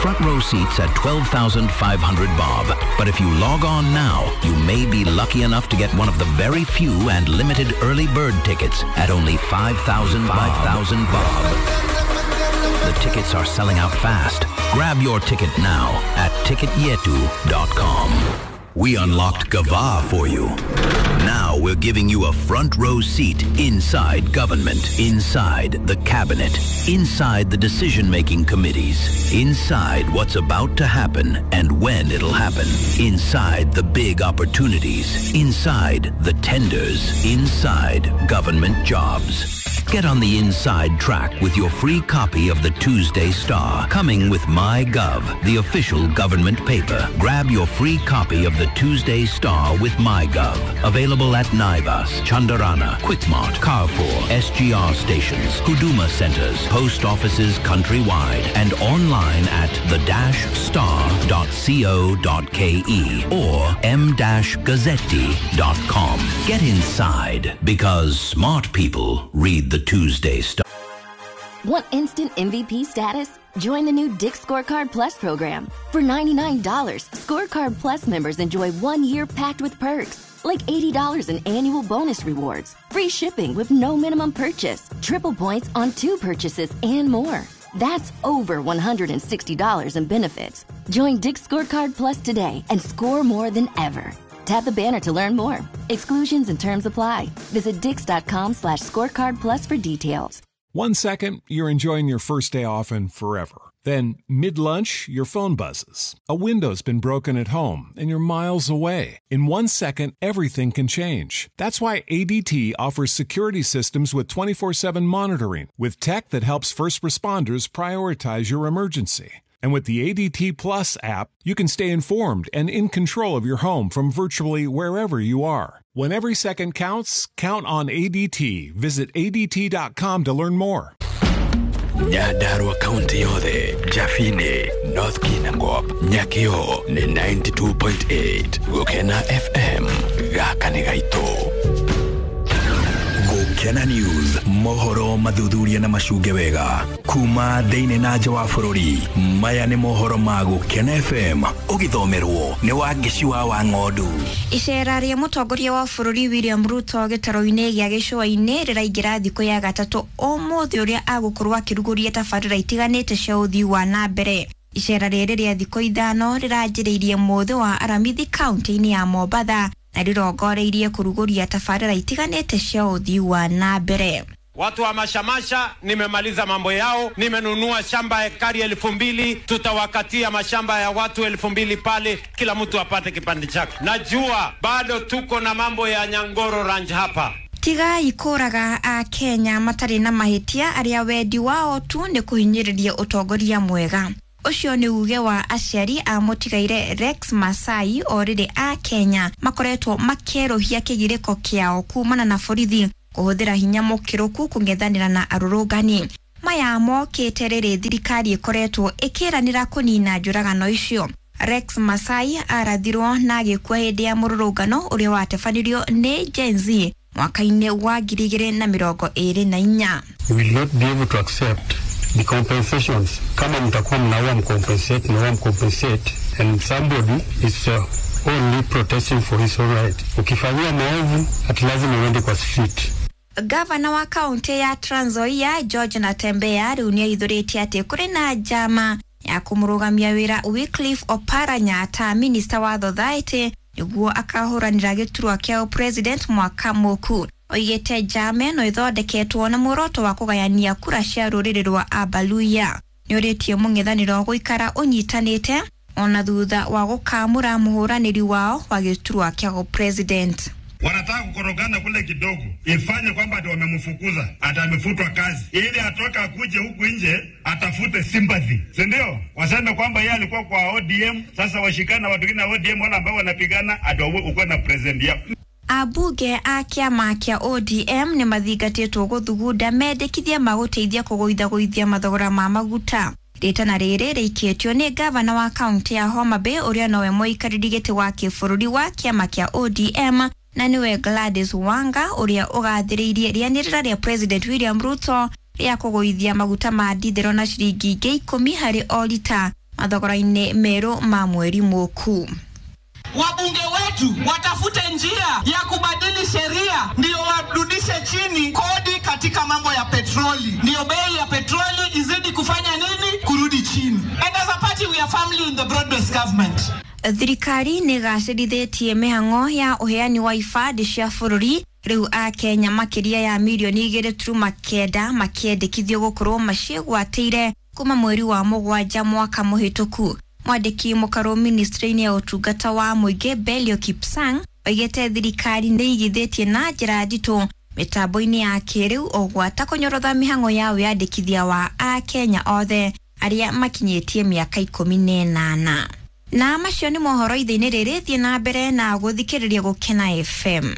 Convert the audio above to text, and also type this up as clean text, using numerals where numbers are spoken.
Front row seats at 12,500 bob. But if you log on now, you may be lucky enough to get one of the very few and limited early bird tickets at only 5,000 5,000 bob. The tickets are selling out fast. Grab your ticket now at ticketyetu.com. We unlocked Gava for you. Now we're giving you a front row seat inside government, inside the cabinet, inside the decision making committees, inside what's about to happen and when it'll happen, inside the big opportunities, inside the tenders, inside government jobs. Get on the inside track with your free copy of the Tuesday Star, coming with MyGov, the official government paper. Grab your free copy of the Tuesday Star with MyGov. Available at Naivas, Chandarana, Quickmart, Carrefour, SGR stations, Huduma centers, post offices countrywide, and online at the-star.co.ke or m-gazzetti.com. Get inside because smart people read the Tuesday Star. Want instant MVP status? Join the new Dick's Scorecard Plus program. For $99, Scorecard Plus members enjoy 1 year packed with perks, like $80 in annual bonus rewards, free shipping with no minimum purchase, triple points on two purchases, and more. That's over $160 in benefits. Join Dick's Scorecard Plus today and score more than ever. Tap the banner to learn more. Exclusions and terms apply. Visit dicks.com/scorecard plus for details. 1 second, you're enjoying your first day off and forever. Then, mid lunch, your phone buzzes. A window's been broken at home and you're miles away. In 1 second, everything can change. That's why ADT offers security systems with 24/7 monitoring, with tech that helps first responders prioritize your emergency. And with the ADT Plus app, you can stay informed and in control of your home from virtually wherever you are. When every second counts, count on ADT. Visit ADT.com to learn more. Nyandarua kaunti yothe, Jafine, North Kinangop, Nyakio nĩ 92.8 Gũkena FM gaka nĩ gaitũ. Gũkena News, mohoro mathuthuria na macunge wega kuma thĩinĩ na nja wa bũrũri. Maya nĩ mohoro ma Gũkena FM, ũgĩthomerwo nĩ Wangeci wa Ng'ondu. Icera rĩa mũtongoria wa bũrũri William Ruto gĩtaro-inĩ gĩa gĩcũa-inĩ rĩraingĩra thikũ ya gatatũ ũmũthĩ, ũrĩa agũkorwo akĩrugũria tabarĩra itiganĩte cia ũthii wa na mbere. Icera rĩrĩ rĩa thikũ 5 rĩranjĩrĩirie mũthĩ wa Aramithi kaunti-inĩ ya Mombatha na rĩrongoreirie kũrugũria tabarĩra itiganĩte cia ũthii wa na mbere. Watu wa Mashamasha nimemaliza mambo yao, nimenunua shamba ekari 2,000. Tutawakatia mashamba ya watu 2,000 pale, kila mtu apate kipande chake. Najua bado tuko na mambo ya Nyangoro Ranch hapa. Tigai kũraga a Kenya matarĩ na mahĩtia arĩa wendi wao tu nĩ kũhinyĩrĩria ũtongoria mwega. Ũcio nĩ uge wa aciari a mũtigaire Rex Masai, o rĩrĩ a Kenya makoretwo makĩerũhia kĩgirĩko kĩao kumana na borithi kũhũthĩra hinya mũkĩrũku kũng'ethanĩra na arũrũngani. Maya mokĩte rĩrĩ thirikari ĩkoretwo ĩkĩranĩra kũnina njũragano icio. Rex Masai arathirwo na agĩkua hĩndĩ ya mũrũrũngano ũrĩa watabanirio nĩ Gen Z mwaka-inĩ wa 2024. We will not be able to accept the compensations. Kama mtakuwa mnaua mcompensate, mnaua mcompensate, and somebody is only protesting for his own right. Ukifanyia maovu, ati lazima uende kwa street. Gavana wa kaunti ya Trans Nzoia George Natembeya rĩu nĩ aithũrĩtie atĩ kũrĩ na njama ya kũmũrũgamia wĩra Wycliffe Oparanya ta minista wa Society nĩguo akahũranĩra gĩturwa kĩa president mwaka mũku. Oigĩte njama ĩno ĩthondeketwo na muoroto wa kũgayania kura cia rũrĩrĩ rwa Abaluya. Nĩ ũrĩtie mũng'ethanĩro gũikara ũnyitanĩte ona thutha wa gũkamũra mũhũranĩri wao wa gĩturwa kĩa president. Wanataka kukorogana kule kidogo, ifanye kwamba ati wamemfukuza, ati amefutwa kazi, ili atoka akuje huku nje atafute sympathy, si ndio? Waseme kwamba yeye alikuwa kwa ODM, sasa washikana na watu wengine wa ODM wale ambao wanapigana, ati ukuwe na president yao. Ambunge a kĩama kĩa ODM nĩ mathingatĩtwo gũthugunda mendekithia ma gũteithia kũgũithagũithia mathogora ma maguta. Rĩtana rĩrĩ rĩikĩtio nĩ gavana wa kaunti ya Homa Bay, ũrĩa nowe mũikarĩri gĩtĩ wa kĩbũrũri wa kĩama kĩa ODM, na nĩwe Gladys Wanga, ũrĩa ũgathĩrĩirie rĩanĩrĩra rĩa President William Ruto rĩa kũgũithia maguta ma ndithero na ciringi 10 harĩ o rita. mathogora-inĩ merũ ma mweri mũku. Wabunge wetu watafute njia ya kubadili sheria ndio warudishe chini kodi katika mambo ya petroli, ndio bei ya petroli izidi kufanya nini? Kurudi chini. And as a party we are firmly in the broad-based government. Thirikari nĩ ĩgacĩrithĩtie mĩhang'o ya ũheani wa ibandĩ cia bũrũri rĩu akenya makĩria ya mirioni 2.9 makĩendekithio gũkorwo maciĩgwatĩire kuma mweri wa 7 mwaka mũhĩtũku. Mwandĩki mũkarũ ministry-inĩ ya ũtungata wa mũingĩ Belio Kipsang oigĩte thirikari nĩ ĩigithĩtie na njĩra nditũ mĩtambo-inĩ ya kĩrĩu o gwata kũnyorotha mĩhang'o ya wĩyandĩkithia wa akenya othe arĩa makinyĩtie mĩaka 18. Na macio nĩ mohoro ithe-inĩ rĩrĩ, thiĩ na mbere na gũthikĩrĩria Gũkena FM.